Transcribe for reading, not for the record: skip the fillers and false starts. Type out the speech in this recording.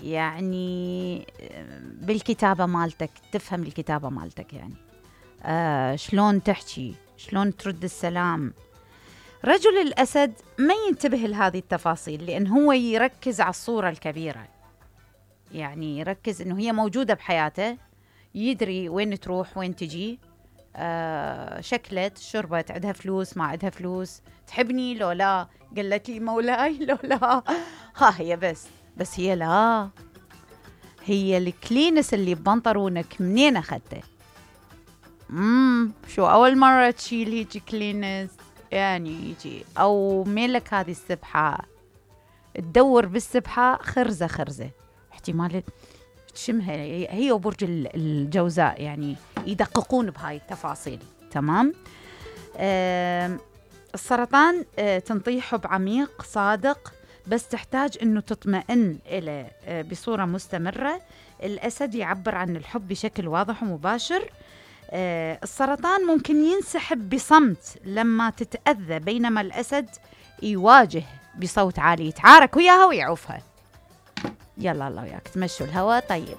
يعني بالكتابة مالتك تفهم الكتابة مالتك، يعني شلون تحكي، شلون ترد السلام. رجل الأسد ما ينتبه لهذه التفاصيل، لأن هو يركز على الصورة الكبيرة، يعني يركز إنه هي موجودة بحياته، يدري وين تروح وين تجي، شكلت شربت، عندها فلوس ما عندها فلوس، تحبني لو لا، قالت لي مولاي لو لا، ها هي بس هي لا، هي الكلينس اللي ببنطرونك منين أخذته؟ شو أول مرة تشيل هيجي كلينس؟ يعني يجي أو ميلك هذه السبحة، تدور بالسبحة خرزة احتمال تشمها هي وبرج الجوزاء، يعني يدققون بهاي التفاصيل. تمام. السرطان تنطيه حب عميق صادق، بس تحتاج انه تطمئن إليه بصورة مستمرة. الأسد يعبر عن الحب بشكل واضح ومباشر. السرطان ممكن ينسحب بصمت لما تتأذى، بينما الأسد يواجه بصوت عالي، يتعارك وياها ويعوفها. يلا الله وياك تمشوا الهوا طيب.